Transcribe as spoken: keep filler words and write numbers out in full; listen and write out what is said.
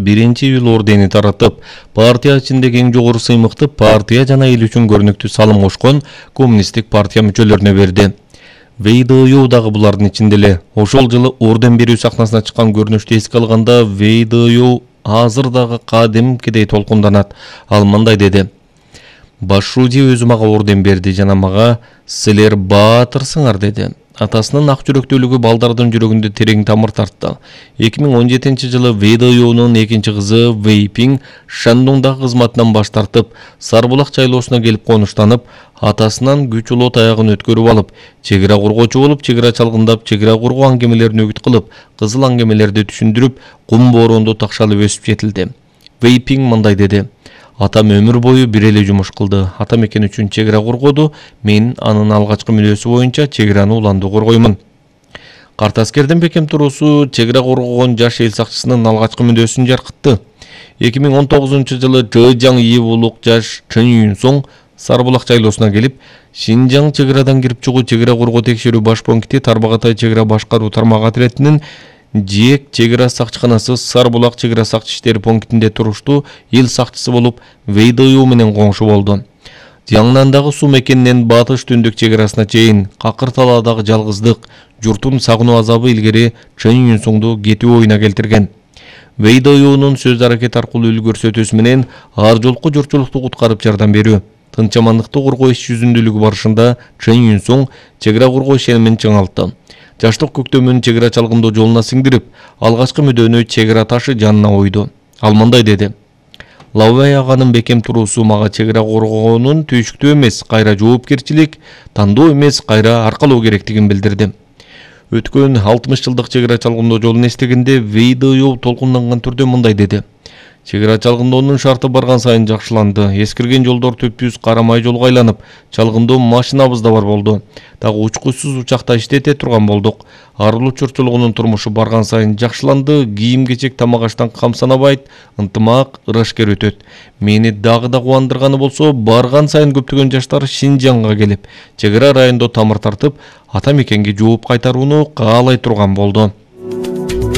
биринчи июль ордени таратып, партия ичиндеги эң жогору сыймыкты партия жана эл үчүн көрүнүктүү салым кошкон коммунисттик партия мүчөлөрүнө берди. вэ и дэ ю дагы булардын ичинде эле. Ошол жылы орден берүү сахнасына чыккан көрүнүштү эске алганда вэ и дэ ю азыр дагы кадимкидей толкунданат. Ал мындай деди: Баш Шуди өзү мага орден берди жана мага "Силер баатырсыңар" деди. Атасынын ак жүрөктүүлүгү балдардын жүрөгүндө терең тамыр тартты. эки миң он жетинчи жылы вэ и дэ юнун экинчи кызы Вэй Пиң Шандуңдагы кызматынан баш тартып, Сарбулак шайлоосуна келип конуштанып, атасынан күч улоо таягын өткөрүп алып, чек ара коргоочу болуп, чек ара чалгындап, чек ара коргоо аңгемелерин өгүт кылып, кызыл аңгемелерди түшүндүрүп, кум бороондо такшалып өсүп жетилди. Вэй Пиң мындай деди: Атам өмүр бою бир эле жумуш кылды. Ата мекен үчүн чек ара коргоду. Мен анын алгачкы мүнөзү боюнча чек араны уланды коргоймун. Карт аскердин бекем туруусу чек ара коргогон жаш эл сакчысынын алгачкы мүнөзүн жаркытты. эки миң он тогузунчу жылы Чжэжаң ИИ улук жаш Чын Юнсоң Сарбулак шайлоосуна келип, Шинжаң чек арадан кирип чыгуу чек ара коргоо текшерүү баш пункти Тарбагатай чек ара башкаруу тармак отрядынын Жээк чек ара сакчыканасы Сарбулак чек ара сакчы иштери пунктинде туруштуу эл сакчысы болуп, вэ и дэ ю менен коңшу болду. Жаңнандагы суу мекенинен батыш түндүк чек арасына чейин какыр талаадагы жалгыздык, журттун сагынуу азабы илгери Чын Юнсоңду кетүү оюна келтирген. вэ и дэ юнун сөз аракет аркылуу үл көрсөтүүсү менен ар жолку журтчулукту куткарып жардам берүү, тынччамандыкты коргоо иш жүзүндүүлүгү барышында Чын Юнсоң чек ара коргоо ишенимин чыңалтты. Жаштык көктөмүн чек ара чалгындоо жолуна сиңдирип, алгачкы мүдөнү чек ара ташы жанына ойду. Ал мындай деди: Лаубай аганын бекем туруусу мага чек ара коргоонун түйшүктүү эмес, кайра жоопкерчилик, тандоо эмес, кайра аркалоо керектигин билдирди. Өткөн алтымыш жылдык чек ара чалгындоо жолун эстегенде вэ и дэ ю толкунданган түрдө мындай деди: Чек ара чалгындоонун шарты барган сайын жакшыланды. Эскирген жолдор түпсүз карамай жолго айланып, чалгындоо машинабыз да бар болду. Дагы учкучсуз учакта иштете турган болдук. Арылуу чурчулугунун турмушу барган сайын жакшыланды. Кийим-кечек, тамак-аштан кам санабайт, ынтымак, ырашкер өтөт. Мени дагы да кубандырганы болсо, барган сайын көптөгөн жаштар Шинжаңга келип, чек ара райондо тамыр тартып, ата мекенге жооп кайтарууну каалай турган болду.